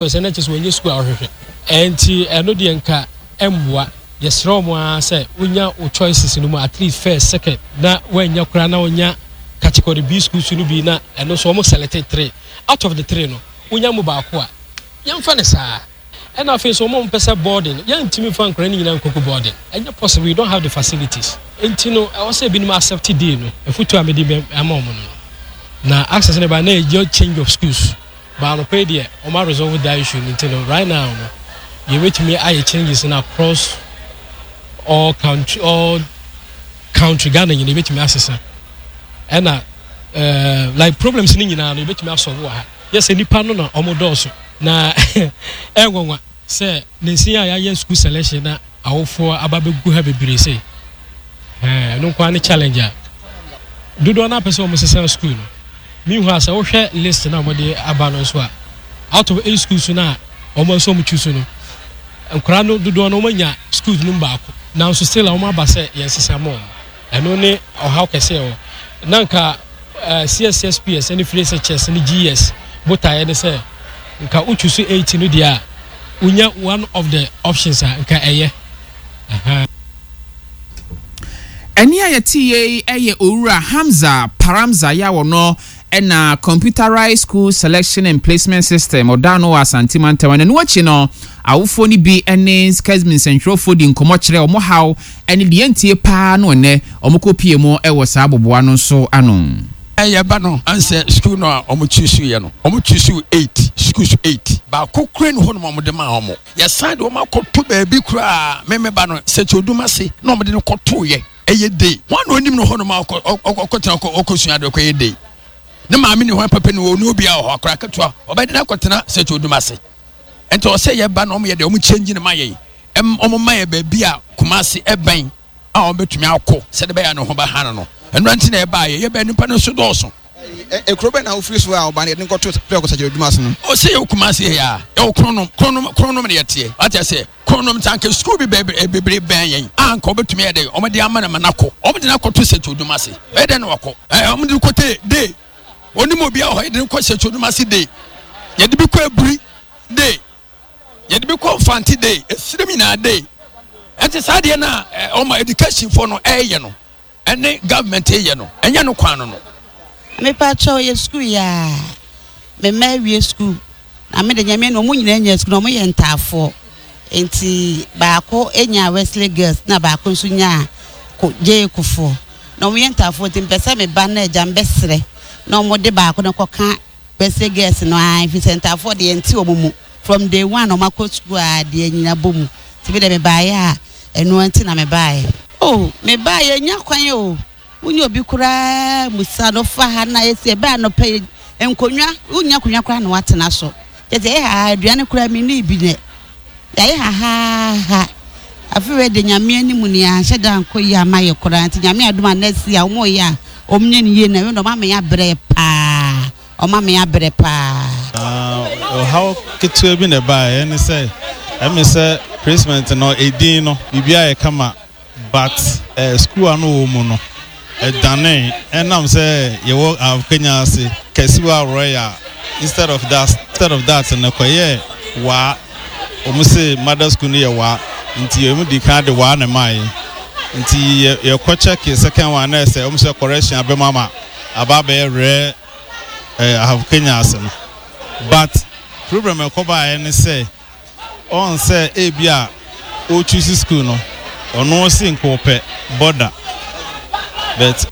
Sɛ na kyerɛ sɛ wɔnyɛ sukuu a wɔhwehwɛ. Ɛnti ɛno deɛ nka ɛmmoa. Yɛsrɛ wɔn ara sɛ wonya wo choices no mu at least first, second na woannya koraa na wonya category B schools no bi na ɛno nso wɔn select three out of the three no wonya mu baako a yɛmfa no saa. Ɛna afei nso wɔn a wɔpɛ sɛ boarding yɛntumi mfa nkwadaa no nyinaa nkɔgu boarding ɛnyɛ possible we don't have the facilities nti no ɛwɔ sɛ ebinom accept day no afutuo a mede bɛ ama wɔn no no na access no ba na ɛyɛ change of schools. But anɔpa yi deɛ wɔn a resolve that issue no nti no right now no yɛbɛtumi ayɛ changes no across all country all country Ghana nyina yɛbɛtumi asesa ɛna uh, like problems no nyinaa no yɛbɛtumi asɔlve wɔ ha yɛ sɛ nipa no na wɔn dɔɔso na ɛnwanwa sɛ ne nsin a yɛayɛ school selection na Awofoɔ aba bɛgu ha bebree sei. Ɛɛ ɛno nko ara ne challenge a dodoɔ no apɛ sɛ wɔn sesa school no. Meanwhile sɛ wohwɛ list na wɔde aba no nso a out of eight schools no a wɔn nso wɔn choose no nkwadaa no dodoɔ no wɔn anya schools no mu baako nanso still a wɔn aba sɛ yɛn sesa ma wɔn. Ɛno ne ɔhaw kɛse ɛwɔ. Na nka eh, CSSPS ne Free SHS ne GES botaeɛ ne sɛ nka wo choose 8 no deɛ a wonya one of the options a nka ɛyɛ. Aha. Ɛnne a yɛteeɛ yi yɛ Owura Hamza Paramza yi a ɔno na Computerized School Selection and Placement System ɔda ano wɔ Asante mantam. Ɛno akyi no, awofoɔ no bi ne Kesmi nsɛntwerɛfoɔ di nkɔmmɔ kyerɛ wɔn haw ne deɛ ntie paa no ɛnnɛ wɔkɔpie mu wɔ saa aboboa no nso ano. Yɛba no ansɛ sukuu no a wɔn choose yɛ no, wɔn choose eight, schools eight, baako kura ni hɔ nom a wɔn de maa wɔn. Yɛsan de wɔn akɔto baabi koraa, me me ba no Sɛkyɛ Odumase na wɔn de no kɔto yɛ, ɛyɛ day. Wɔn na onim no hɔ nom a ɔkɔ ɔkɔtena ɔkɔ ɔkɔsua adeɛ ɔkɔyɛ day. Ne maame ni hɔ papa ni hɔ, ɔni obiara wɔ hɔ, akora ketewa ɔbɛde no akɔtena Sɛkyɛ Odumase. Nti ɔsɛ yɛba na wɔn yɛ deɛ wɔn change no ma yɛn, wɔn ma yɛ baabi a Kumasi ɛbɛn. a wɔbɛtumi akɔ sɛde bɛyɛ a ne ho bɛha no no. Ɛno nti na yɛbaeɛ. Yɛbɛɛ nnipa no nso dɔɔso. Ekuro bɛn na wofiri so a ɔbaa no yɛde no kɔto prɛko sɛkyerɛ adwuma ase no? Ɔsɛ yɛwɔ Kumasi ha yi a, yɛwɔ Kronom, Kronom, Kronom na yɛteɛ. Wate aseɛ? Kronom nti anka sukuu bi bɛɛ bebree bɛn yɛn a anka wɔbɛtumi ayɛ dɛ wɔde ama no ma no akɔ. Wɔde no akɔto sɛkyerɛ adwuma ase. Ɛyɛ dɛn na wakɔ? Ɛɛ wɔde no kɔte day. Onim obi a wɔ hɔ yɛde no kɔ sɛkyerɛ adwuma ase day. Yɛde bi kɔ aburi day. Yɛde bi kɔ Mfante day, esirem nyinaa day. Ɛnti saa deɛ no a ɔma education foɔ no ɛyɛ no ɛne government yɛ no ɛnyɛ no kwan no no. Mepa kyɛw yɛ sukuu yi aa me mma awie sukuu na me de nyame no ɔmo nyinaa nya sukuu na ɔmo yɛ ntaafoɔ nti baako nyaa Wesley girls na baako nso nyaa ko J Kufoɔ na ɔmo yɛ ntaafoɔ nti mpɛ sɛ me ba no agya mbɛsrɛ na ɔmo de baako no kɔka Kwesi girls no aa efisɛ ntaafoɔ deɛ yɛnte wɔn mu from day one wɔn akɔ sukuu aa deɛ nyina bɔ mu nti me deɛ me baeɛ a ɛnoa nti na me baeɛ. Oh me baeɛ yɛnnya kwan o wonya obi koraa musa no fa ha na yɛsi ɛbɛ anɔpa yi nkonwa wonnya konwa koraa na watena so kyɛ sɛ yɛ ha aduane koraa menni bi nɛ Yɛayɛ hahaaha. Afe wei de Nyame anim ni anhyɛ da ankɔ yie ama yɛ koraa nti Nyame adom a next year wɔn reyɛ a wɔn nyɛ no yie na wei de wɔn ama yɛ abrɛ paa wɔn ama yɛ abrɛ paa. Ɔhaw ketewa bi na ɛbaeɛ ɛne sɛ ɛme sɛ placement no edin no biribiara yɛ kama But school a na ɔwɔ mu no ɛdanee ɛnam sɛ yɛwɔ Kenya ase Kasiwa Royal instead of that instead of that no ɛkɔyɛɛ Waa wɔn se mother school no yɛ Waa nti wɔn di kan de Waa na ɛmaa yɛn nti yɛ yɛkɔ check second one na ɛsɛ wɔn sɛ correction abɛm ama aba abɛyɛ rɛ ɛɛ Kenya ase no but problem ɛkɔbaeɛ ne sɛ. Ɔn sɛ ebia o choose school no ɔno ɔse nka ɔpɛ border but.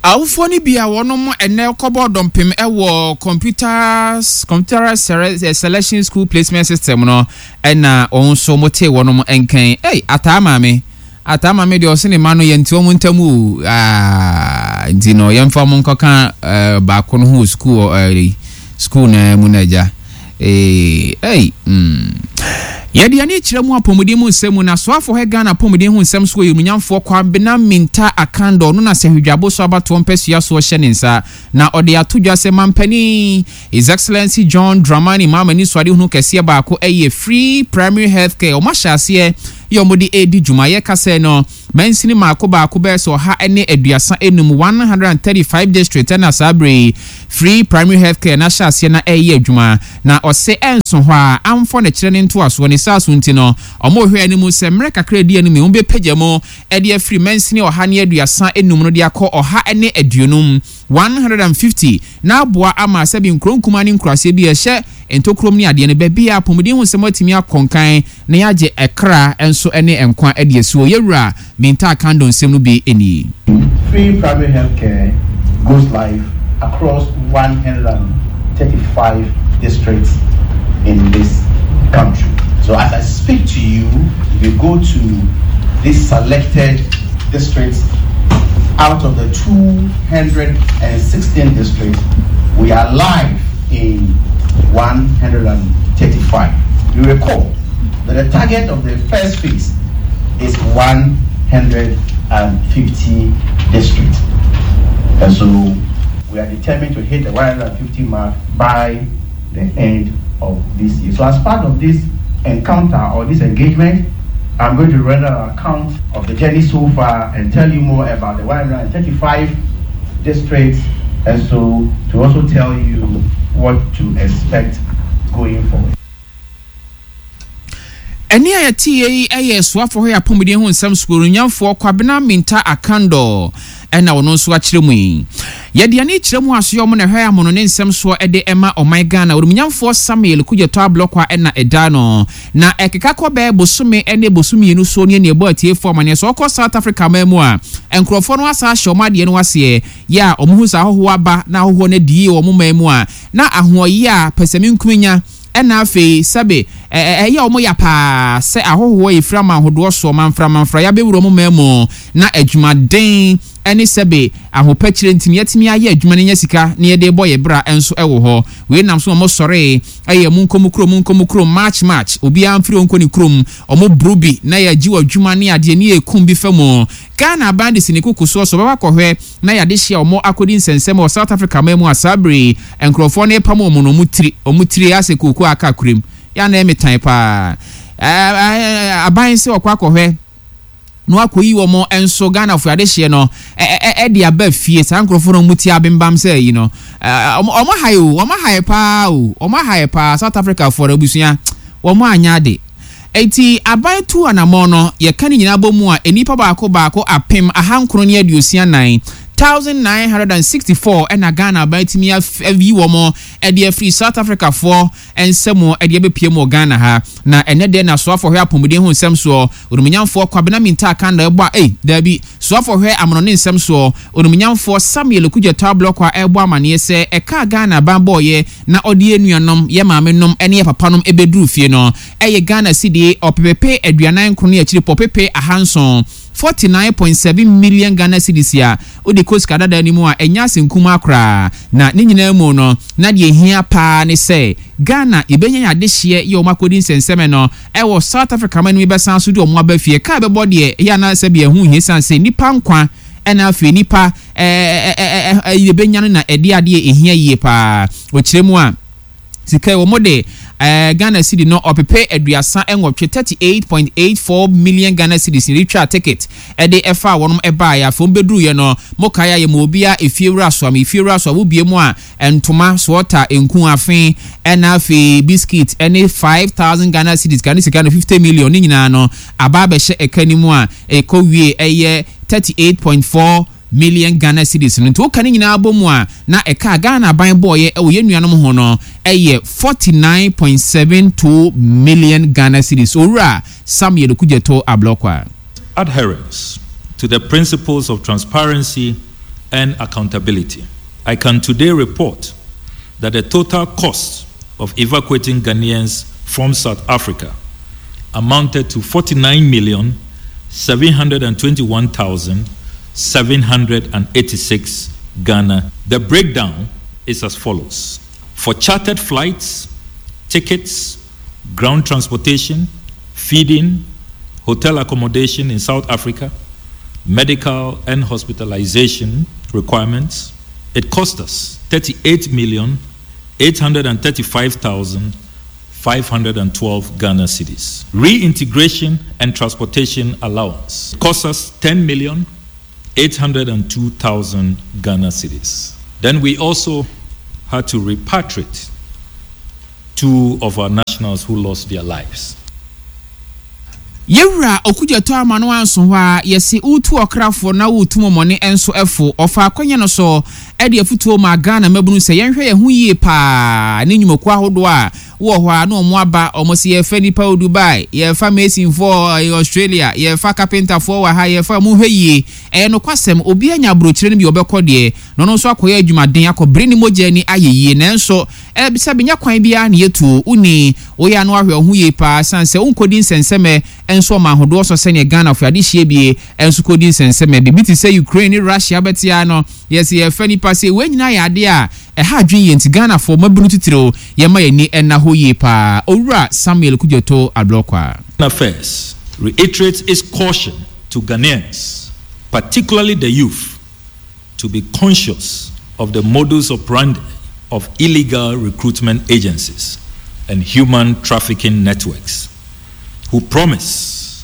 Awofoɔ no bi a wɔnom ɛnɛ kɔbɔɔ dɔmpem wɔ computers computerized selection school placement system no ɛna wɔn nso wɔtee wɔnom nkan. Ei ataa maame ataa maame deɛ ɔse ne mma no yɛnte wɔn ntam o aah nti no yɛmfa wɔn nkɔka eh, baako no ho wɔ sukuu eh, sukuu no mu no agya. Eeii ei mm. Yɛde yɛn ani kyerɛ mu apɔmuden mu nsɛm mu na Soafoɔ hɛ Ghana apɔmuden ho nsɛm so Oyemunyamfoɔ Kwabena Mintah Akandoh no na Sahwidwabo so abatoɔ mpasua soɔ hyɛ ne nsa na ɔde ato dwa sɛ Mampanin His Excellency John Dramani Mahama anisoadehunu kɛseɛ baako yɛ Free Primary Health Care wɔn ahyɛ aseɛ. yɛ wɔde redi dwuma. Yɛka sɛ no, mansini mmaako baako bɛyɛ sɛ 135, 135 district ɛna saa berɛ yi free primary health care no ahyɛ aseɛ na ɛreyɛ adwuma. Na ɔse ɛnso hɔ a, amfɔ ne kyerɛ ne ntoasoɔ ne saa so nti no, wɔrehwɛ anim sɛ mmerɛ kakra a ɛdi anim yi wɔbɛpagya mu de afiri mansini 135 no de akɔ 150, 150, na aboa ama sɛbi nkuro nkumaa ne nkuraseɛ bi a ɛhyɛ ntokurom ne adeɛ no baabi a apɔmuden ho nsɛm atumi akɔ nkan na yɛagye ɛkra nso ne nkwa de asi hɔ. Yɛwura Mintaa Kandor nsɛm no bi nie. Free primary health care goes live across 135 districts in this country. So as I speak to you, if you go to these selected districts, out of the 216 districts, we are live in 135. You recall that the target of the first phase is 150 districts. And so we are determined to hit the 150 mark by the end of this year. So as part of this encounter or this engagement, I'm going to render an account of the journey so far and tell you more about the 135 districts and so to also tell you what to expect going forward. Ɛnne a yɛteeɛ yi yɛ Soafoɔ Hɔ Yɛ Apɔmuden Ho Nsɛm Sukuunuonyamfoɔ Kwabena Mintah Akandoh na ɔno nso akyerɛ mu yi. Yɛde ani kyerɛ mu asoɛ ɔmo na ɛhwɛ amono ne nsɛm soɔ de ma ɔman Ghana. Onimnyamfoɔ Samuel Kudjetɔ Ablɔkwa na ɛda ano. Na ɛkeka kɔ bɛyɛ bosome ne bosom mmienu soɔ nie na yɛbɔ atiefoɔ amaneɛ sɛ ɔkɔ South Africa man mu a nkorɔfoɔ no asan ahyɛ ɔmo adeɛ no aseɛ yɛ a ɔmo hu sɛ ahɔhoɔ aba na ahɔhoɔ no adi yie wɔ ɔmo man mu a na ahoɔyea a pɛsɛmenkominya Ɛna afei, sɛbe, ɛ, ɛyɛ wɔn ya paa sɛ ahɔhoɔ a ɛfiri aman hodoɔ soɔ, manfra-manfra, yɛabɛwura wɔn man mu, na adwumaden ne sɛbe, ahopɛkyerɛ nti no, yɛatumi ayɛ adwuma no anya sika na yɛde rebɔ yɛn bra nso wɔ hɔ. Wei nam so ma wɔsɔree, ɛyɛ monkɔ mo kurom, monkɔ mo kurom, march, march, obiara mfiri hɔ nkɔ ne kurom, wɔboro bi na yɛagye wɔ adwuma ne adeɛ ne yɛkum bi fa mu. Ghana aban de si ne koko soɔ sɛ ɔbɛba akɔhwɛ na yɛade hyia wɔn akɔdi nsɛnsɛm wɔ South Africa man mu a saa bere yi nkurɔfoɔ no repam wɔn no wɔn tiri wɔn tiri asɛ kooko a aka korem yɛ a na ɛyɛ me tan paa ɛɛ aban sɛ ɔkɔ akɔhwɛ na wakɔyi wɔn nso Ghanafoɔ adehyeɛ no ɛde aba fie saa nkurɔfoɔ no wɔn ti abembam sɛ yi no wɔn ahae o wɔn ahae paa o wɔn ahae paa South Africa foɔ no abusua wɔn anyɛ ade. Enti aban tuu anamɔn no, yɛka ne nyinaa bɔ mu a, nnipa baako baako 1964, 1,964, na Ghana aban atumi ayi wɔn de afiri South Africafoɔ nsa mu de abɛpue mu wɔ Ghana ha. Na ɛnnɛ deɛ na Soafoɔ hwɛ apɔmuden ho nsɛm soɔ, Onimnyamfoɔ Kwabena Mintah Akandoh ɛbɔ a, ei, daabi, Soafoɔ hwɛ amanɔne nsɛm soɔ, Onimnyamfoɔ Samuel Okudzeto Ablɔkwa ɛrebɔ amaneɛ sɛ ɛka a Ghana aban bɔeɛ na ɔde yɛn nuanom, yɛn maamenom ne yɛn papanom bɛduruu fie no, ɛyɛ Ghana cedi ɔpepepe 49 ne akyiri pɔ pepe ahanson, 49.7 million Ghana cedis, a wode kɔ sika dada no mu a ɛnyɛ asɛm kumaa koraa. Na ne nyinaa mu no, na deɛ ɛhia pa ara ne sɛ Ghana yɛbɛnya yɛn adehyeɛ yɛ wɔn akɔdi nsɛnsɛmɛ no wɔ South Africa man no mu yɛbɛsan nso de wɔn aba fie. Ka a ɛbɛbɔ deɛ ɛyɛ a na sɛdeɛ ɛho nhia ɛsiane sɛ nnipa nkwa na afei nnipa yɛbɛnya no na ɛde adeɛ ɛhia yie pa ara. Ɔkyerɛ mu a. Sika yi wɔn de eh, Ghana cedi no ɔpepe 38, 38.84 million Ghana cedis na yɛde twaa ticket ɛde ɛfaa wɔnom ɛbaeɛ. Afei wɔn bɛduruiɛ no, mo kae a yɛma obiara efie wura soa me efie wura soa wobie mu a ntoma, soɔta, nku, afe ɛna afei biscuit ɛne 5000 Ghana cedis, Ghana sika no 50 million ne nyinaa no aba abɛhyɛ ɛka no mu a ɛkɔ wie ɛyɛ 38.4 million Ghana cedis no. Nti woka ne nyinaa bɔ mu a, na ɛka a Ghana aban bɔeɛ wɔ yɛn nuanom ho no yɛ 49.72 million Ghana cedis. Owura Samuel Okudzeto Ablokwa. Adherence to the principles of transparency and accountability. I can today report that the total cost of evacuating Ghanaians from South Africa amounted to 49,721,786 Ghana. The breakdown is as follows. For chartered flights, tickets, ground transportation, feeding, hotel accommodation in South Africa, medical and hospitalization requirements, it cost us 38,835,000. 512 Ghana cedis. Reintegration and transportation allowance cost us 10 million 802,000 Ghana cedis. Then we also had to repatriate two of our nationals who lost their lives. Yɛwura Okudzeto ama no anso hɔ ara, yɛse wotu ɔkrafoɔ na wotu mɔmɔne nso fo. Ɔfaa akwanya no so de afutuo maa Ghana mmabunu sɛ yɛnhwɛ yɛn ho yie paa ne nnwumakuo ahodoɔ a wowɔ hɔ a na wɔn aba, wɔn se yɛrefa nnipa wɔ Dubai, yɛrefa masonfoɔ wɔ Australia, yɛrefa carpenterfoɔ wɔ ha, yɛrefa, monhwɛ yie. Ɛyɛ nokwasɛm, obiara nya aburokyire no bi a ɔbɛkɔ deɛ, na ɔno nso akɔyɛ adwumaden, akɔbere ne mogya ani ayɛ yie, nanso Sɛ benya kwan biara na yɛtu o, wonni, woyɛ a na wahwɛ wo ho yie paa ɛsiane sɛ wonkɔdi nsɛnsɛmɛ nso ɔman ahodoɔ so sɛdeɛ Ghanafoɔ adehyeɛ bie nso kɔdi nsɛnsɛmɛ. Biribi te sɛ Ukraine ne Russia bɛte ara no, yɛse yɛrefa nnipa sei. Wei nyinaa yɛ adeɛ a ɛha adwene yie nti Ghanafoɔ mmabunu titiriw yɛmma yɛn ani nna hɔ yie paa. Owura Samuel Kudjoto Ablorkwa. Affairs reiterates its caution to Ghanaians, particularly the youth, to be conscious of the modus operandi of illegal recruitment agencies and human trafficking networks who promise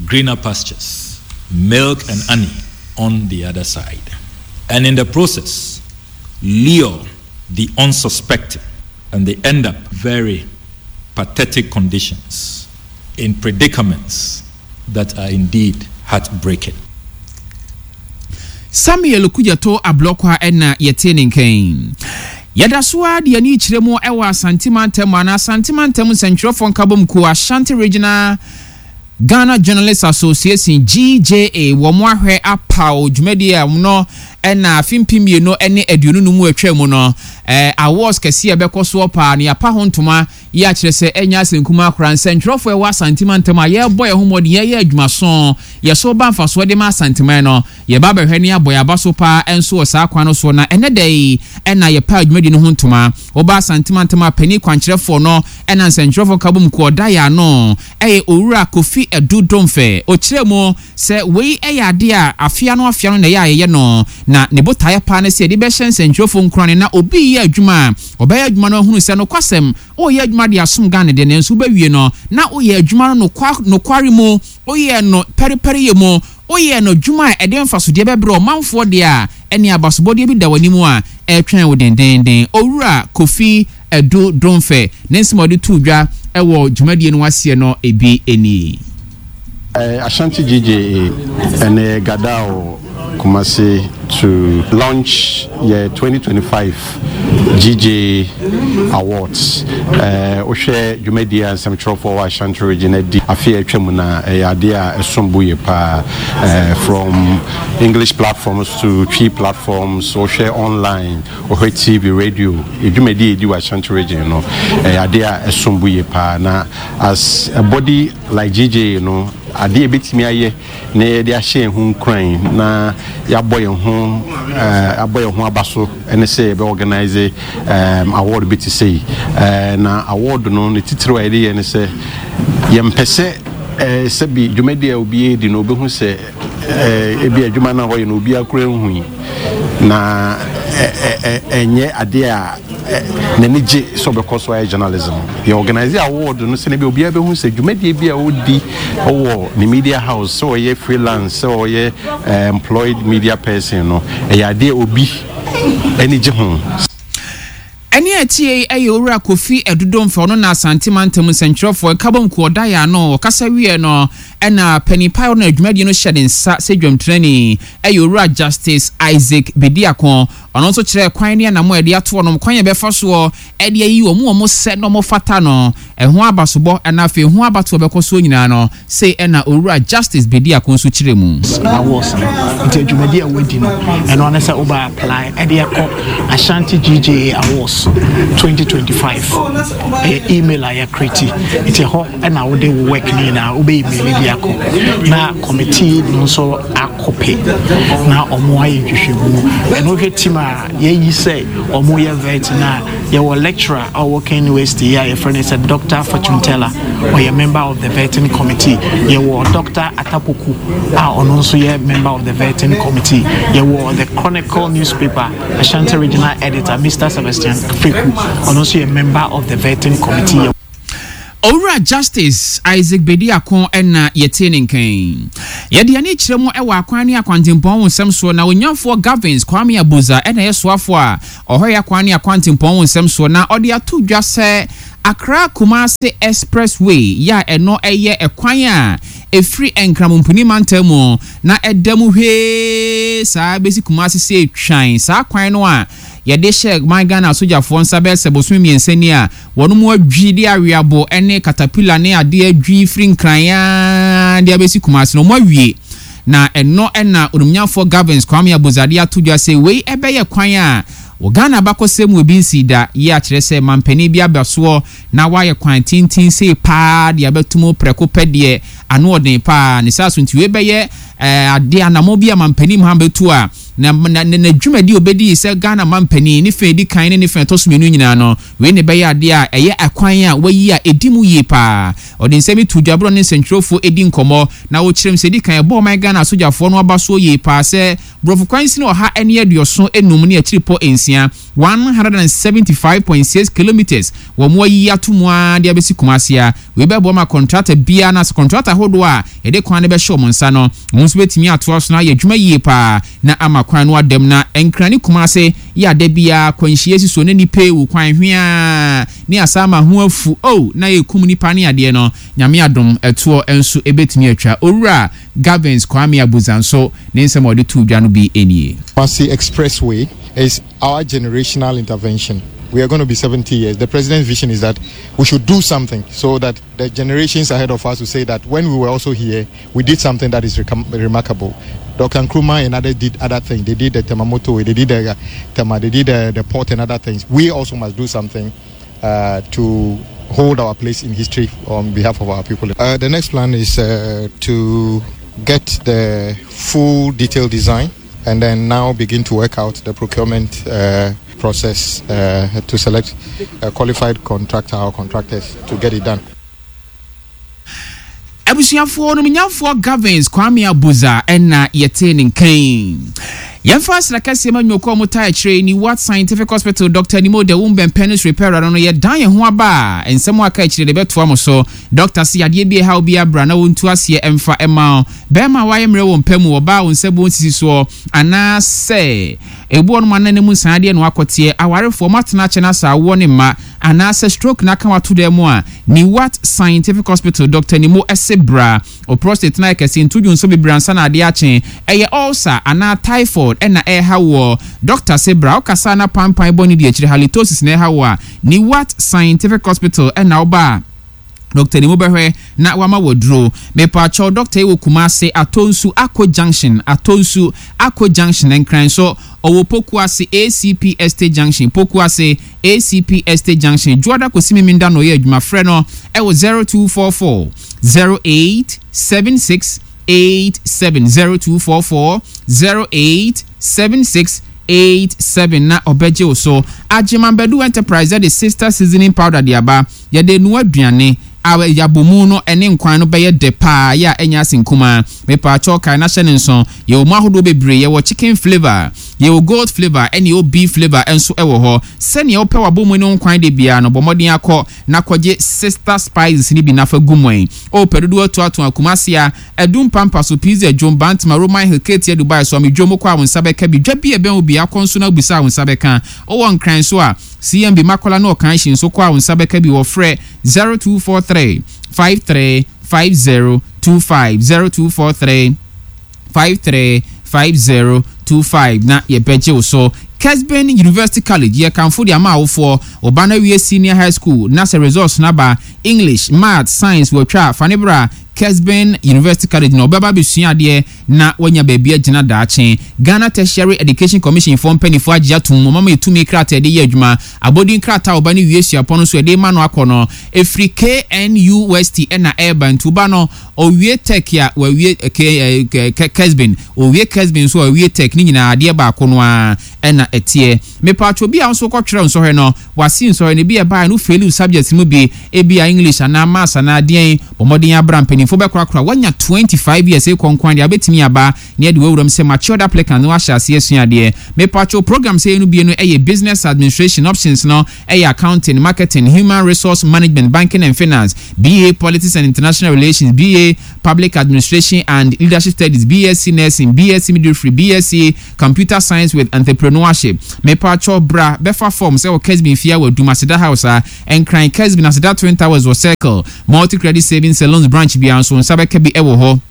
greener pastures, milk and honey on the other side. And in the process, lure the unsuspecting and they end up very pathetic conditions in predicaments that are indeed heartbreaking. Samuel Kudjato Ablɔkwa na yɛtee ne nka yi. Yɛda so ara de yɛn ani rekyerɛ mu wɔ Asante Mantam anaa Asante Mantam Nsɛntwerɛfoɔ Nkabom Kuo, Ashanti Regional Ghana Journalists Association, GJA, wɔn ahwɛ apaw dwumadie a no na afe 2025 mu atwa mu no, awards kɛseɛ a ɛbɛkɔ soɔ paa no yɛapa ho ntoma Yi akyerɛ sɛ ɛnyɛ asɛnkumaa koraa. Nsɛntwerɛfoɔ a ɛwɔ Asante mantam a yɛrebɔ yɛn ho mmɔden, yɛreyɛ adwumaso, yɛso ba mfasoɔ de ma Asanteman no, yɛba abɛhwɛ ne abɔ yɛn aba so paa nso wɔ saa kwan no soɔ. Na ɛnnɛ da yi na yɛpaa dwumadie no ho ntoma. Woba Asante mantam a, panin kwankyerɛfoɔ no na nsɛntwerɛfoɔ nkabom kuo a ɔda yɛn ano yɛ Owura Kofi Adu Domfɛ. Ɔkyerɛɛ mu Sɛ wei yɛ adeɛ a afe ano afe ano na ɛyɛ a yɛyɛ no, na ne botaeɛ paa ne sɛ yɛde bɛhyɛ nsɛntwerɛfoɔ nkuran na obi reyɛ adwuma a, ɔbɛyɛ adwuma no ahunu sɛ nokwasɛm, woreyɛ adwuma de asom Ghana deɛ nanso wobɛwie no na woyɛ adwuma no nokware mu, woyɛɛ no pɛrepɛreyɛ mu, woyɛɛ no adwuma a ɛde mfasodeɛ bɛbrɛ ɔmanfoɔ deɛ a, ɛnneɛ abasobɔdeɛ bi da w'anim a ɛretwɛn wo dendeenden. Owura Kofi Adu Domfɛ ne nsɛm a ɔde too dwa wɔ dwumadie no aseɛ no bi nie. Ashanti GJA ɛnɛ Gadao Kumasi to launch yɛ 2025 GJA Awards. Wohwɛ dwumadie a nsɛmtwerɛfoɔ wɔ Ashanti region adi afe a atwa mu no a, ɛyɛ adeɛ a ɛsom bo yie paa. From English platforms to Twi platforms, wohwɛ online, wohwɛ TV, radio, yɛ dwumadie a yɛdi wɔ Ashanti region no, ɛyɛ adeɛ a ɛsom bo yie paa. Na as a body Like JJ no, adeɛ a yɛbɛtumi ayɛ na yɛde ahyɛ yɛn ho nkuran na yɛabɔ yɛn ho abɔ yɛn ho aba so ne sɛ yɛbɛ organise award bi te sei. Na award no ne titiriw a yɛde yɛ ne sɛ yɛmpɛ sɛ sɛbi dwumadi a obi redi no obehu sɛ ebi adwuma no a ɔyɛ no obiara koraa nhui na ɛnyɛ adeɛ a n'ani gye sɛ ɔbɛkɔ so ayɛ journalism. Yɛ organise award no sɛnea ɛbɛyɛ obiara bɛhu sɛ dwumadie bi a ɔdi wɔ ne media house, sɛ ɔyɛ freelance, sɛ ɔyɛ employed media person no, ɛyɛ adeɛ obi ani gye ho. Ɛnne a ɛteɛ yi yɛ Owura Kofi Adu Domfeh, ɔno na Asante Mantam Nsɛntwerɛfoɔ Nkabom Kuo ɔda yɛn ano. Ɔkasa wieɛ no, ɛna panin pa a ɔno na dwumadie no hyɛ ne nsa sɛ dwamtenani yɛ Owura Justice Isaac Bediako. Ɔno nso kyerɛɛ kwan ne anammɔn a yɛde ato hɔnom, kwan a yɛbɛfa soɔ de ayi wɔn a wɔsɛ na wɔfata no, ɛho abasobɔ na afei ho abatoɔ a ɛbɛkɔ soɔ nyinaa no, sei na Owura Justice Bediako nso kyerɛɛ mu. Awards no nti adwumadi a wadi no ɛno ara ne sɛ wobɛ apply ɛde akɔ Ashanti GJA Awards 2025 ɛyɛ email a yɛakreti nti ɛhɔ ɛna wode wo work no nyinaa wobɛ email de akɔ na committee no nso akɔpɛ na ɔmo ayɛ nhwehwɛmu. Ɛno wohwɛ team a yɛayi sɛ ɔmo yɛ vet no a, yɛwɔ lecturer a ɔwɔ KNUST yi a yɛfrɛ no sɛ Doctor Fortune Teller, ɔyɛ member of the vetting committee. Yɛwɔ Doctor Atapoku a ɔno nso yɛ member of the vetting committee. Yɛwɔ the Chronicle newspaper Ashanti Regional Editor Mister Sebastian Feku, ɔno nso yɛ member of the vetting committee. Owura Justice Isaac Bediako na yɛtee ne nka yi. Yɛde yɛn ani kyerɛ mu wɔ akwan ne akwantempɔn ho nsɛm soɔ na Onyanfoɔ Gavins Kwame Abuza na ɛyɛ soafoɔ a ɔhwɛ yɛn akwan ne akwantempɔn ho nsɛm soɔ na ɔde ato dwa sɛ Accra Kumasi Expressway yɛ a ɛno yɛ ɛkwan a ɛfiri Nkramompini mantam mu na ɛda mu hwee saa bɛsi Kumasi sɛ twan saa kwan no a yɛde hyɛɛ man Ghana asogyafoɔ nsa bɛyɛ sɛ bosome mmiɛnsa ni a wɔnom adwi de aweabo ne katapila ne adeɛ adwi firi Nkran ara de abɛsi Kumasi no wɔn awie na ɛno na Onimnyafoɔ Gavins Kwame Abudzade ato dwa sɛ wei ɛbɛyɛ kwan a wɔ Ghana abakɔsɛm mu ebi nsii da yi a kyerɛ sɛ manpanin bi aba soɔ na wayɛ kwan tenten sei paa de abɛto mu prɛko pɛ deɛ ano ɔden paa ne saa so nti wei bɛyɛ adeɛ anamɔ bi a manpanin Mahama bɛtu a Na na na n'adwumadi a obedii sɛ Ghana manpanin, ne fã a edi kan ne ne fã a ɛtɔ so mmienu nyinaa no, wei na ɛbɛyɛ ade a ɛyɛ akwan a wayi a edi mu yie paa. Ɔde nsɛm yi too dwa bere a ɔne nsɛntwerɛfoɔ redi nkɔmmɔ, na ɔkyerɛɛ mu sɛ edi kan ɛbɔɔ ɔman Ghana asogyafoɔ no abasoɔ yie paa sɛ borɔfo kwansin 185 ne akyiripɔ nsia, 175.6 kilometres, wɔn ayiyi ato mu ara de abɛsi Kumasi a wei bɛboa ma kɔntrata biara anaasɛ kɔntrata ahodoɔ a yɛde kwan no bɛhyɛ wɔn nsa no, wɔn nso bɛtumi atoa so na ayɛ adwuma yie pa ara na ama kwan no adam na Nkran ne Kumasi yɛ a da biara akwanhyia si soɔ na nnipa rewu kwan hweaa ne asaama ho afu oh na ɛrekum nnipa ne adeɛ no Nyame adom ɛtoɔ nso ɛbɛtumi atwa. Owura Gavins Kwame Abuza nso ne nsɛm a ɔde too dwa no bi nie. Kumasi Expressway is our generational intervention. We are going to be 70 years. The president's vision is that we should do something so that the generations ahead of us will say that when we were also here, we did something that is remarkable. Dr. Nkrumah and others did other things. They did the Tema motorway, they did the Tema, they did the, the port and other things. We also must do something uh, to hold our place in history on behalf of our people. Uh, the next plan is uh, to get the full detailed design and then now begin to work out the procurement uh, process uh, to select a qualified contractor or contractors to get it done. Abusuafoɔ Onimnyafoɔ Gavins Kwame Abuza na yɛtee ne nka yi. Yɛmfa asra kɛseɛ ma nnwumakuo a wɔtaa akyire yi, New Wat Scientific Hospital, Dɔkta Nimo Dawum Bɛmpɛnis Repairer no no, yɛdan yɛn ho aba a, nsɛm a aka akyire de bɛtoa mo so. Dɔkta se yadeɛ bi ɛha wo bi abra na wɔntu aseɛ mfa mma wo. Bɛrima a wayɛ mmerɛ wɔ mpa mu, ɔbaa a wo nsa buo nsisi soɔ, anaasɛ ebi wɔ nom a na ne mu nsan adeɛ na wakɔteɛ, awarefoɔ, moatena akyɛ no asa awoɔ ne mma, Anaasɛ stroke na aka wo ato dan mu a, Newat Scientific Hospital Doctor Nimo se bra. Wo prostate no ayɛ kɛse, nto dwonsɔ bebree ansa na adeɛ akye. Ɛyɛ ulcer anaa typhoid na ɛreha woɔ? Doctor se bra. Wokasa a na panpan bɔ ne di akyire, halitosis na ɛreha wo a, Newat Scientific Hospital na woba a, Doctor Nimo bɛhwɛ na wama wo aduro. Mepaakyɛw, doctor yi wɔ Kumasi, Atonsu, Ako Junction, Atonsu, Ako Junction, Nkran so. Ɔwɔ Pokuase, ACP Estate Junction, Pokuase, ACP Estate Junction, Dwoada kɔsi Memenda na ɔyɛ adwuma. Frɛ no wɔ 0244 08 76 87, 0244 08 76 87 na ɔbɛgye wo so. Agyeman Badu Enterprise de Sister Seasoning Powder de aba. Yɛde noa aduane a yɛabɔ no ne nkwan no bɛyɛ dɛ paa yɛ a ɛnyɛ asen kumaa. Mepaakyɛw kae na hyɛ no nso, yɛwɔ mu ahodoɔ bebree, yɛwɔ chicken flavour, yɛwɔ goat flavour ɛne yɛwɔ beef flavour nso wɔ hɔ. Sɛnea wopɛ w'abɔmu ne wo nkwan de biara no, bɔ mmɔden akɔ na kɔgye Sister Spices no bi na fa gu mu ɛ. O pɛ dodoɔ atuatua, Kumasi a, Adum Pampa so, Pizza Dwom, Bantama, Roman Hill, Ketia Dubai, Suame Dwom, wokɔ a wo nsa bɛka bi. Dwa bi a ɛbɛn wo biara, kɔ nso na wobisa a wo nsa bɛka. Wowɔ Nkran nso a, CMB Makola ne Ɔkanhyi nso kɔ a wo nsa bɛka bi wɔ frɛ 0243 53 50 25 0243 53 50 25 na yɛbɛgye wo so. Kesben University College yɛ kamfo de ama awofoɔ. Wo ba no awie senior high school na sɛ results no aba, English, Maths, Science watwa a, fa no bra Kesben University College na ɔbɛba abɛsua adeɛ na wanya baabi agyina daakye. Ghana Tertiary Education Commission foɔ mpaninfoɔ agye atom, wɔn ama yɛ tumi krataa yɛde yɛ adwuma. Abɔdin krataa a ɔba no wie suapɔn no nso yɛde rema no akɔ no, ɛfiri KNUST na ɛreba nti woba no ɔwie Tech a wawie K, Kesben, ɔwie Kesben nso a wawie Tech, ne nyinaa adeɛ baako no ara. na ɛteɛ. Mepaatwɔ obi a wo nso wokɔtwerɛ nsɔhwɛ no, w'ase nsɔhwɛ no, ebi a ɛbaeɛ no wo faili wo subjects mu bi, ebia English anaa Maths anaa deɛn, bɔ mmɔden ara bra, mpanimfoɔ bɛkorakora, woanya 25 years rekɔ nko ara deɛ wobɛtumi aba na yɛde wo awura mu sɛ matured applicant na woahyɛ aseɛ asua adeɛ. Mepaatwɔ programs a yɛyɛ no bi no yɛ Business Administration, options no yɛ Accounting, Marketing, Human Resource Management, Banking and Finance, BA Politics and International Relations, BA Public Administration and Leadership Studies, BSc Nursing, BSc Midwifery, BSc Computer Science with Entrepreneurship. Mepaatwɔ bra bɛfa form sɛ wɔ Kesbin fie a wɔ Adum Aseda House a, Nkran, Kesbin Aseda Twin Towers wɔ Circle, Multi Credit Savings and Loans branch biara nso wo nsa bɛka bi wɔ hɔ.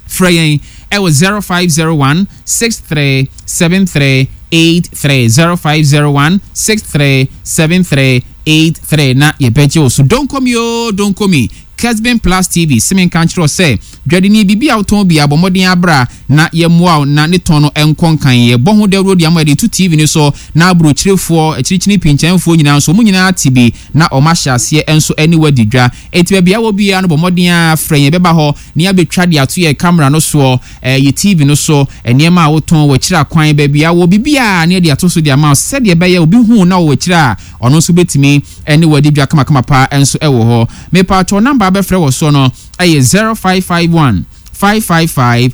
Frɛ yɛn wɔ 0501 63 73 83, 0501 63 73 83 na yɛbɛgye wo so. Donkomi oo donkomi, Kesbin Plus TV se menka nkyerɛ wo sɛ dwadini biribi a wotɔn biara bɔ mmɔden ara bra na yɛmmoa wo na ne tɔn no nkɔ nkan. Yɛbɔ ho dawuro de ama yɛde to TV no so na aburokyirefoɔ, akyirikyini pinkyɛnfoɔ nyinaa nso wɔn nyinaa ate bi na wɔahyɛ aseɛ nso ne wo adi dwa. Enti baabi a wɔ biara no bɔ mmɔden ara frɛ yɛn yɛbɛba hɔ na yɛabɛtwa de ato yɛn camera no soɔ, yɛ TV no so, nneɛma a wotɔn, w'akyiri akwan, baabi a wɔ, biribiara na yɛde ato so de ama wo sɛdeɛ ɛbɛyɛ obi hu wo na ɔwɔ akyire a ɔno nso bɛtumi ne wo adi dwa kamakama paa nso wɔ hɔ. Mepaatwɔ number a wobɛfrɛ wɔ soɔ no yɛ 0551 555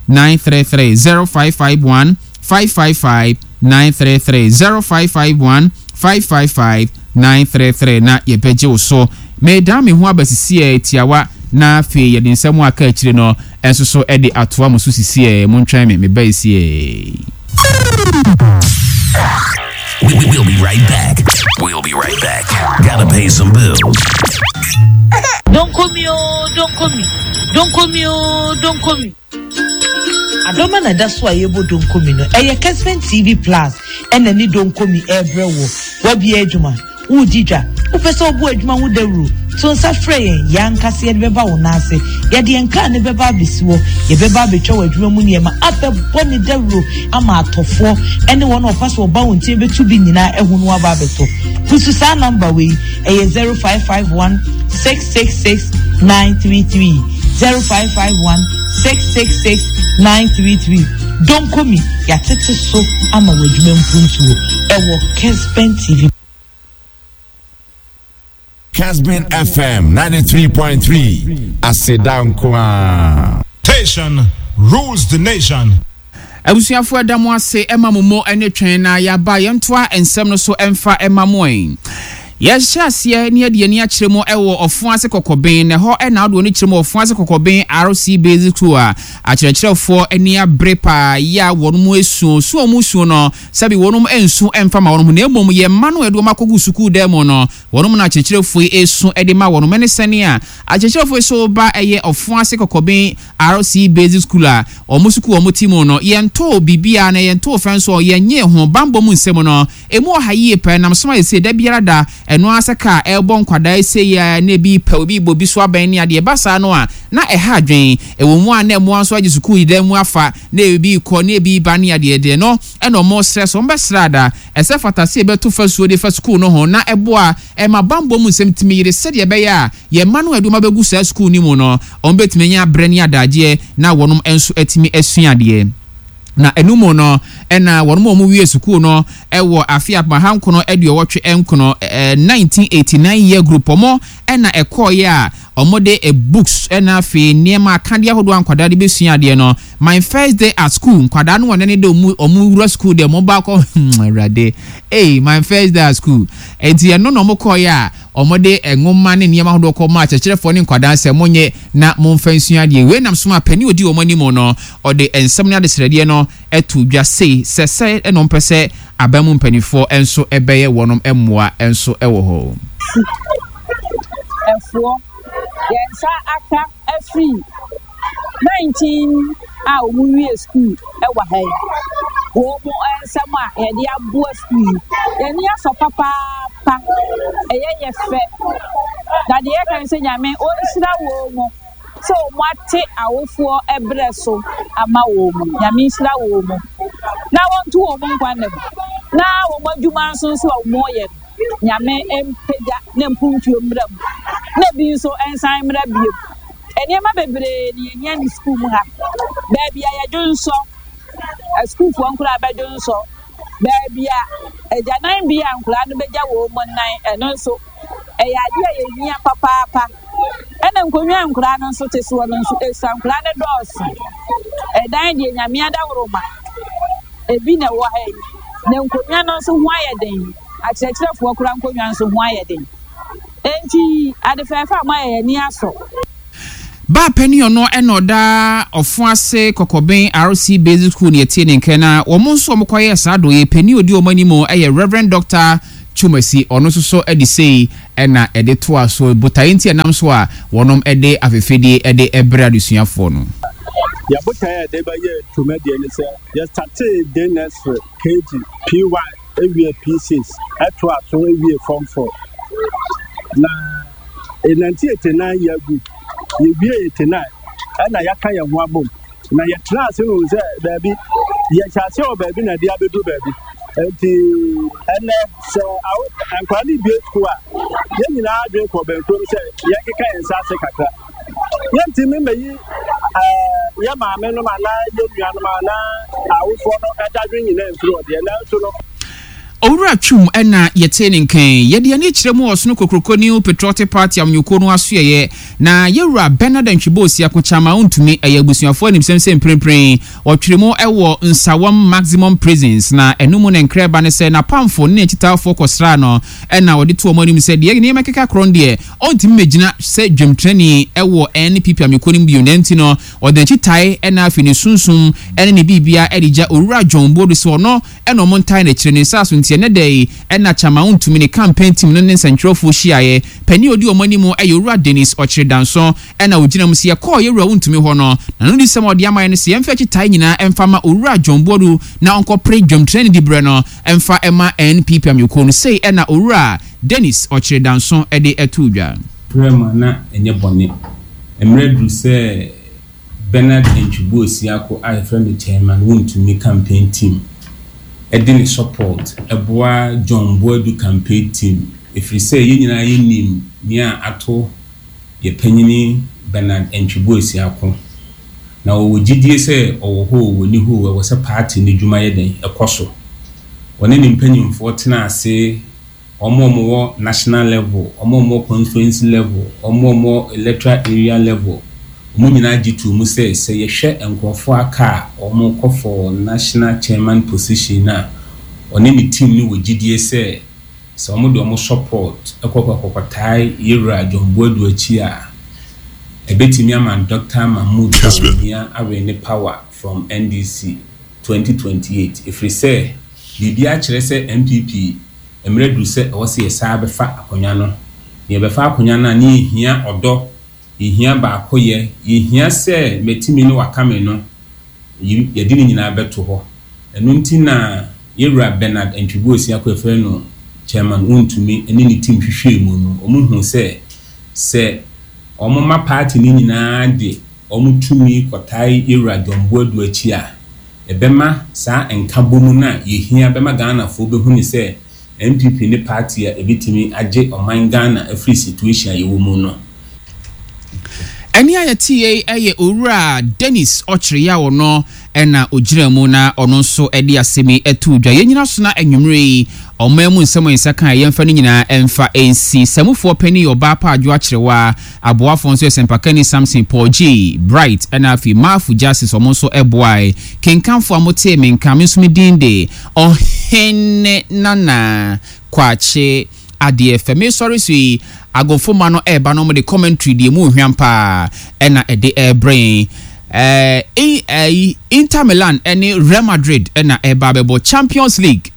933, 0551 555 933, 0551 555 933 na yɛbɛgye wo so. Medan me ho aba sisiɛ tiawa na afei yɛde nsɛm a aka akyire no nso so de atoa mo so sisiɛ. Montwɛn me, meba sisiɛ. We'll be right back. We'll be right back. Gotta pay some bills. Don't call me, oh, don't call me. Don't call me, oh, don't call me. Adɔma na ɛda so a yɛbɔ donkomi no, ɛyɛ Kesben TV Plus ɛna ne donkomi ɛrebrɛ wo. Wabie adwuma, woredi dwa, wopɛ sɛ wobɔ adwuma ho dawuro, to nsa frɛ yɛn, yɛn ankasa yɛde bɛba wo nan ase. Yɛde yɛn kaa no bɛba abɛsi hɔ, yɛbɛba abɛtwa w'adwuma mu nneɛma, abɛbɔ ne dawuro ama atɔfoɔ ɛne wɔn a wɔpa so wɔba wo nkyɛn bɛtu bi nyinaa ahu no aba abɛtɔ. Pusu saa namba wei, ɛyɛ 0551 666 933, 0551 666 933. Donkomi, yɛatete so ama w'adwuma mpuntuo ɛwɔ Kesben TV. Kesben FM 93.3 Aseda nko ara. Station rules the nation. Abusuafo ɛda mo ase ɛma mo mo ɛne twɛn na yaba yɛntoa nsɛm no so ɛmfa ɛma mo ɛn. Yɛhyɛ aseɛ ne yɛde yɛni akyerɛ mu ɛwɔ ɔfo ase kɔkɔben na ɛhɔ ɛna wode w'ani kyerɛ mu ɔfo ase kɔkɔben RC Basic School a akyerɛkyerɛfoɔ ani abere paa yɛ a wɔn mo esuo su wɔn suo no sɛbi wɔn nsu ɛmfa ma wɔn ho na mmom yɛn mma no ɛde wɔn akɔgu sukuu dan mu no wɔn na akyerɛkyerɛfoɔ yi esu ɛde ma wɔn ɛne sɛnea akyerɛkyerɛfoɔ yi so ba ɛyɛ ɔfo ase kɔkɔben RC Basic School a wɔn sukuu a wɔte mu no, yɛntoo biribiara na yɛntoo fɛ nso, yɛnnyee ho. Bammɔ mu nsɛm no, emu wɔ ha yie paa. Ɛnam so ma seesei da biara da, ɛno ara sɛ kaa ɛrebɔ nkwadaa sei ara na ebi repɛ obi rebɔ obi so abɛn ne adeɛ. Ɛba saa no a, na ɛha adwene. Ɛwɔ mu a na mmoa nso agye sukuu yi dan mu afa, na ebi rekɔ na ebi reba ne adeɛ deɛ no na wɔresrɛ sɛ wɔbɛsrɛ ada. Ɛsɛ fata sɛ yɛbɛto fasuo de fa sukuu no ho na ɛboa ma bammɔ mu nsɛm tumi yere sɛdeɛ ɛbɛyɛ a Yɛn mma no a yɛde wɔn abɛgu saa sukuu no mu no, wɔbɛtumi anya berɛ ne adagyeɛ na wɔnom nso atumi asua adeɛ. Na ɛno mu no, ɛna wɔnom a wɔwie sukuu no wɔ afe apem ahankono aduɔwɔtwe nkono, 1989 year group, wɔn na ɛkɔeɛ a wɔde books na afei nneɛma akadeɛ ahodoɔ a nkwadaa de bɛsua adeɛ no. My first day at school, nkwadaa no wɔn ne de wɔn wɔn wura sukuu deɛ wɔn baakɔ, hmm, awurade, ei, my first day at school. Enti ɛno na wɔn kɔeɛ a Wɔde nwoma ne nneɛma ahodoɔ kɔmaa akyerɛkyerɛfoɔ ne nkwadaa sɛ, Monnye na momfa nsua adeɛ. Wei nam so maa panin a ɔdi wɔn anim no, ɔde nsɛm ne adesrɛdeɛ no too dwa sei, sɛ sɛɛ na wɔmpɛ sɛ aban mu mpanimfoɔ nso bɛyɛ wɔn mmoa nso wɔ hɔ. Ɛfoɔ, yɛn nsa aka afiri 19 a wɔn wie sukuu wɔ ha yi, wɔn nsɛm a yɛde aboa sukuu yi, yɛn ani asɔ papaapa, ɛyɛ yɛ fɛ. Na deɛ yɛka ne sɛ Nyame ɔnhyira wɔn mu sɛ wɔn ate awofoɔ brɛ so ama wɔn mu. Nyame nhyira wɔn mu na wɔnto wɔn nkwa nna mu na wɔn adwuma nso nso a wɔyɛ no Nyame mpagya ne mpuntuo mmra mu na ebi nso nsan mmra bio. Nneɛma bebree na yɛhia ne sukuu mu ha. Baabi a yɛdwonsɔ, asukuufoɔ nkoraa bɛdwonsɔ. Baabi a agyananbea a nkwadaa no bɛgya wɔn nan, ɛno nso, ɛyɛ adeɛ a yɛhia papaapa. Ɛna nkonnwa a nkwadaa no nso te soɔ no nso, ɛsua nkwadaa no dɔɔso. Ɛdan deɛ Nyame adaworoma, ebi na ɛwɔ ha yi. Na nkonnwa no nso ho ayɛ den. Akyerɛkyerɛfoɔ koraa nkonnwa nso ho ayɛ den. Enti ade fɛɛfɛ a moayɛ yɛn ani asɔ. Baa panin ɔno na ɔda Ɔfoase Kɔkɔben RC Basic School na yɛtie ne nka na wɔn nso wɔn kɔyɛɛ saa adɔeɛ panin ɔdi wɔn anim yɛ Rev. Dɔkta Twumasi ɔno nso so de sei na ɛde toa so botaeɛ nti ɛnam so a wɔnom de afɛfɛdie de brɛ adesuafoɔ no. Yɛn botaeɛ a yɛde bɛyɛ dwumadie ne sɛ, yɛstartee day nursery, KG, P1, ewie P6, ɛtoa so ewie Form 4. Na in 1989 yɛagu, yɛwie 89 ɛna yɛaka yɛn ho abom. Na yɛtena ase hu sɛ baabi, yɛhyɛ aseɛ wɔ baabi na ɛde abɛduru baabi. Nti ɛnɛ sɛ awo nkwadaa no bie sukuu a, yɛn nyinaa adwene kɔ bɛnkurom sɛ yɛnkeka yɛn nsa ase kakra. Yɛntumi mmɛyi ɛɛ yɛ maame nom anaa yɛ nuanom anaa awofoɔ no dadwen nyinaa mfiri hɔ deɛ, nanso no. Owura Twum na yɛtee ne nka yi. Yɛde yɛn ani kyerɛ mu wɔ Ɔsono Kokroko New Patriotic Party amanyɔkuo no asoɛeɛ, na Yɛwura Bernard Antwi Osiako Kyama ɔntumi, ɛyɛ abusuafoɔ animsɛm sɛ mprempren wɔtwere mu wɔ Nsawam Maximum Prisons, na ɛno mu na nkra ɛba ne sɛ n'apamfo ne n'akyitaafoɔ kɔsraa no na wɔde to wɔn anim sɛ deɛ nneɛma keka korɔ no deɛ ɔntumi mmɛgyina sɛ dwamtenani wɔ NPP amanyɔkuo no mu bio, na ɛnti no ɔde n'akyitae na afei ne sunsum ne ne biribiara de gya Owura John Boadu sɛ ɔno na ɔmo ntae n'akyire ne nsa so nti ɛnɛ da yi na Chairman Wontumi ne campaign team no ne nsɛntwerɛfoɔ hyiaeɛ. Panin a ɔdi ɔmo anim yɛ Owura Dennis Ɔkyere Danso na ɔgyina mu sɛ yɛkɔɔ yɛwura Wontumi hɔ no n'anodisɛm a ɔde ama yɛn ne sɛ yɛmfa akyitae nyinaa mfa ma Owura John Boadu na ɔnkɔpere dwamtenani diberɛ no mfa mma NPP amanyɔkuo no. Sei na Owura Dennis Ɔkyere Danso de too dwa. Frɛ mu a na ɛnyɛ bɔne. Mmerɛ aduru sɛ Bernard Antwi Osiako a yɛfrɛ no Chairman Wontumi campaign team de ne support boa John Boadu campaign team ɛfiri sɛ yɛn nyinaa yɛnim nea ato yɛ panyini Bernard Antwi Osiako na ɔwɔ gyidie sɛ ɔwɔ hɔ oo ɔnni hɔ oo ɛwɔ sɛ party no dwuma yɛ dɛn ɛkɔ so. Ɔne ne mpanyinfoɔ tenaa ase Wɔn a wɔwɔ national level, wɔn a wɔwɔ constituency level, wɔn a wɔwɔ electoral area level, wɔn nyinaa gye too mu sɛ, sɛ yɛhwɛ nkurɔfoɔ a aka a wɔrekɔ for national chairman position no a, ɔne ne team no wɔ gyidie sɛ, sɛ wɔde wɔn support kɔ kɔkɔtae Yɛwura John Boadu akyi a, ɛbɛtumi ama Doctor Mahmood Bawumia awene power from NDC 2028, ɛfiri sɛ biribiara kyerɛ sɛ NPP mmerɛ aduru sɛ ɛwɔ sɛ yɛsan bɛfa akonnwa no. Na yɛbɛfa akonnwa no a, na yɛhia ɔdɔ, yɛhia baakoyɛ, yɛhia sɛ matumi ne waka me no, yɛde ne nyinaa bɛto hɔ. Ɛno nti na Yɛwura Bernard Antwi Osiako a yɛfrɛ no Chairman Wontumi ne ne team hwehwɛɛ mu no, wɔhuu sɛ, sɛ wɔma party no nyinaa de wɔn tumi kɔtae Yɛwura John Boadu akyi a, ɛbɛma saa nkabom no a yɛhia bɛma Ghanafoɔ bɛhu no sɛ NPP ne party a ɛbɛtumi agye ɔman Ghana afiri situation a yɛwɔ mu no. Ɛnne a yɛteeɛ yi yɛ Owura Dennis Ɔkyere a ɔno na ɔgyina mu na ɔno nso de asɛm yi too dwa. Yɛnnyina so na anwummerɛ yi ɔman mu nsɛm a yɛn nsa kaeɛ yɛmfa ne nyinaa mfa nsi. Samufoɔ panin yɛ Ɔbaa Pa Adwo Akyerewaa. Aboafoɔ nso yɛ Sɛmpakani Samson, Paul Gyei, Bright ɛna afei Marfo Justice wɔn nso boae. Kenkanfoɔ a motee me nka, me nso me din de Ɔhene Nana Kwakye Adeɛ Fɛ. Mesɔre so yi, Agofomma no ɛreba na wɔde commentary deɛ ɛmu hwam paa ɛna ɛde ɛrebrɛ yɛn. Ɛɛ, Inter Milan ɛne Real Madrid ɛna ɛreba abɛbɔ Champions League.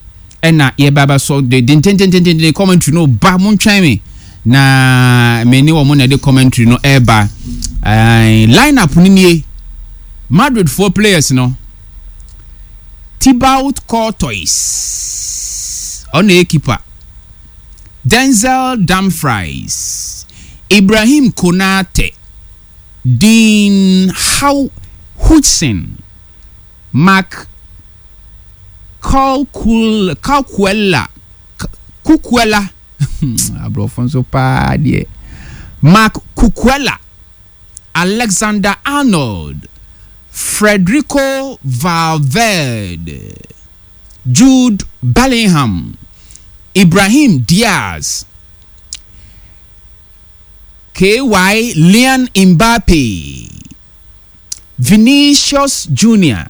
Ɛna yɛba bɛsɔ de dententententen commentary no ba mo ntwɛn me na me ne wɔn na ɛde commentary no ɛreba ɛɛ line up no nie Madrid foɔ players no Thibaut Courtois ɔna yɛ keeper Denzel Dumfries Ibrahim Konate Dean How Hutchinson Marc Cucuella, Cucuella, aborɔfo nso paa deɛ, Marc Cucuella, Alexander Arnold, Federico Valverde. Jude Bellingham, Ibrahim Diaz, Kylian Mbappe, Vinicius Junior,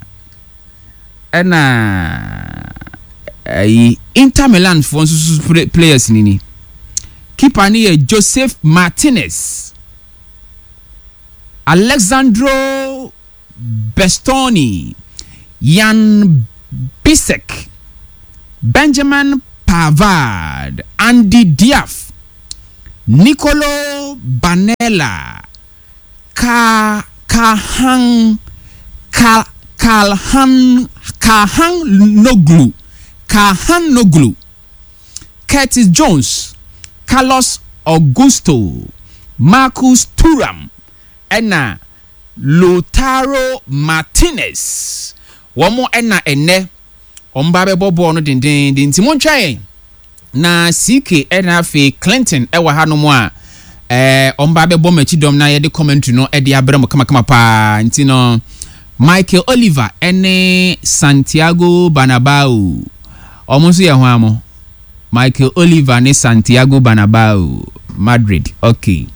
ɛna ɛyi Inter Milan foɔ nso so players ni ni. Keeper no yɛ Joseph Martinez, Alexandro Bastoni, Yann Bisseck, Benjamin Pavard, Andy Diaf, Nicolo Barnella, Ka Kahan Ka Kalhan Kahanoglu, Kahanoglu, Curtis Jones, Carlos Augusto, Marcus Thuram, ɛna Lautaro Martinez. Wɔn na ɛnnɛ wɔn ba bɛbɔ bɔɔl no dendeenden nti montwɛn na CK ɛna afei Clinton ɛwɔ hanom a ɛɛ wɔn ba bɛbɔ m'akyi dɔm na yɛde commentary no ɛde abrɛ mo kamakama paa nti no Michael Oliver ɛne Santiago Bernabeu wɔn nso yɛ hwan mo? Michael Oliver ne Santiago Bernabeu, Madrid. Ok.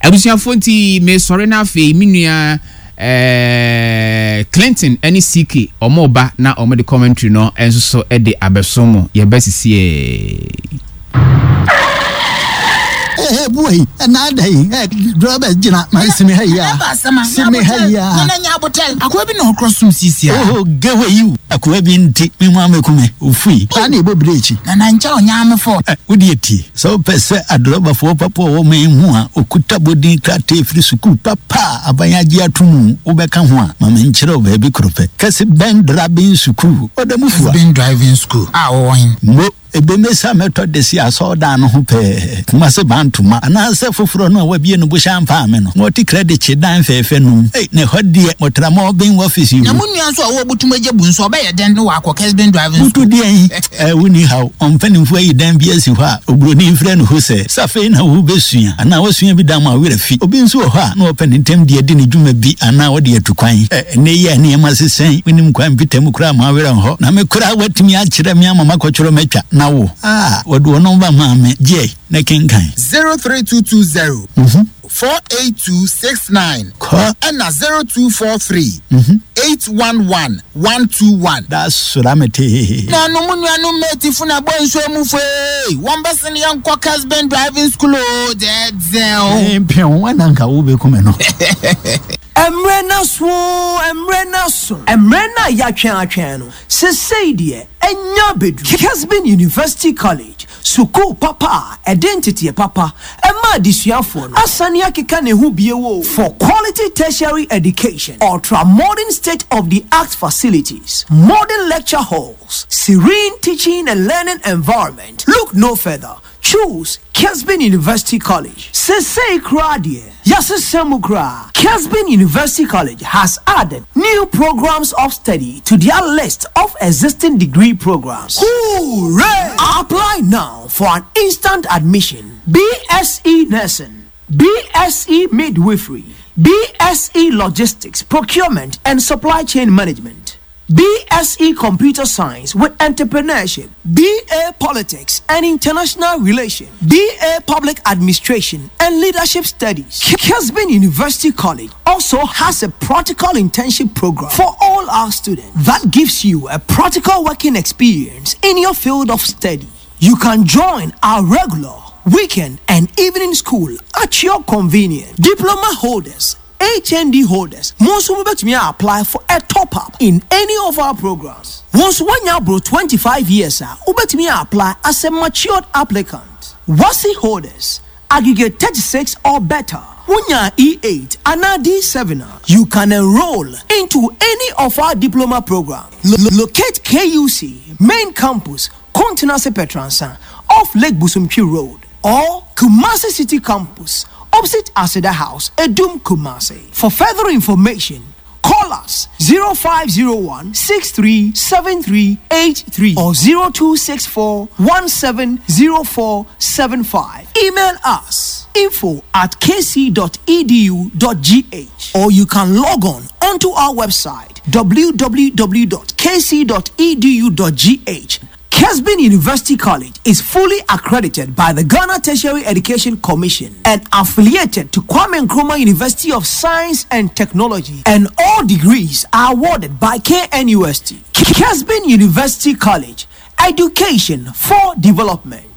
Abusuafoɔ nti mesɔre na afei me nua eh, Clinton ne CK wɔn ba na wɔn de commentary no nso so de abɛso mo. Yɛbɛ sisiee. Ee buai, ɛna ada yi, ɛ drɔbɛ gyina ma simi ha yi a, simi ha yi a. Nana nya abotɛl, akoa bi na ɔkorɔ som sisi a. Oh, gewe yiw, akoa bi nti, me ho ameku me, ofui, saa na ɛbɔ birekyi. Nana nkyɛ ɔnya me fɔ. Ɛ, wo deɛ tie, sɛ wopɛ sɛ adrɔbafoɔ papa a ɔwɔ man mu a ɔkuta bɔdin krataa firi sukuu papa a aban agye ato mu wobɛka ho a, ma menkyerɛ wo baabi koro pɛ, Kɛse Bɛn Drabin Sukuu, Ɔdamufoa. Kɛse Bɛn Driving School a ɔwɔ he? Mo. Ebemesi a mɛtɔ de si asɔrdan no ho pɛɛ, Kumase Bantoma, anaasɛ foforɔ no a wɔabue no Bohyɛ Ampaame no, na wɔte Kreditse dan fɛɛfɛ no mu. Ei, na ɛhɔ deɛ, motra Mɔɔben Office yi Na mu. mo nua nso a ɔwɔ Butum Agya Bu nso, ɔbɛyɛ dɛn na wakɔ Kesben Driving Butu School? deɛn? Ɛɛ, wonni haw. Wɔn mpanimfoɔ ayi dan bi asi hɔ a oburoni mfrɛ no hosɛ. Sɛ afei na worebɛsua, anaa woasua bi da ama wo werɛ afi. Obi nso wɔ hɔ a, na ɔpɛ ne ntɛm de adi ne dwuma bi anaa ɔde atu kwan. Ɛ, ɛnnɛ yi a nneɛma sesa yi, wonnim kwan mpita mu koraa ma wo werɛ nhɔ. Na me koraa woatumi akyerɛ me ama makɔtwerɛ matwa, na wo? A, wɔde wo nɔmba maa me. Gye na kenkan. 03220 48269 Kɔ. ɛna 0243 811 121. Da sora me tee. Nuanom nuanom matefoɔ na bɔ nsuo mu foe wɔn bɛsene yɛn kɔ Kesben driving school o dɛɛdɛw. Mpew, ɛna nka wobɛku me no. Mmerɛ no aso oo, mmerɛ no aso. Mmerɛ no a yɛatwɛn atwɛn no, sesei deɛ anya abɛduru. Kesben University College, sukuu papa a ɛde nteteɛ papa ma adesuafoɔ no, asane akeka ne ho bio oo. For quality tertiary education, ultra modern state of the art facilities, modern lecture halls, serene teaching and learning environment, look no further. Choose Kesben University College. Sesei koraa deɛ, yɛasesa mu koraa. Kesben University College has added new programs of study to their list of existing degree programs. Hooray! Apply now for an instant admission. BSc Nursing, BSc Midwifery, BSc Logistics, Procurement and Supply Chain Management. BSc Computer Science with Entrepreneurship, BA Politics and International Relations, BA Public Administration and Leadership Studies. Kesbin University College also has a practical internship program for all our students that gives you a practical working experience in your field of study. You can join our regular, weekend, and evening school at your convenience. Diploma holders, HND holders, mo nso mobɛtumi a apply for a top up in any of our programs. Wo nso woanya aboro 25 years a, wobɛtumi a apply as a matured applicant. WASSCE holders, aggregate 36 or better, wonya E8 anaa D7 a, you can enroll into any of our diploma programs. Locate KUC, main campus, Kontenase Petransa, off Lake Bosomtwe Road, or Kumasi City Campus, opposite Aseda House, Edum, Kumasi. For further information, call us. us 0501 637383 or 0264 170475. Email us info at kc.edu.gh or you can log on onto our website www.kc.edu.gh. Kesbin University College is fully accredited by the Ghana Tertiary Education Commission and affiliated to Kwame Nkrumah University of Science and Technology, and all degrees are awarded by KNUST. Kesbin University College, education for development.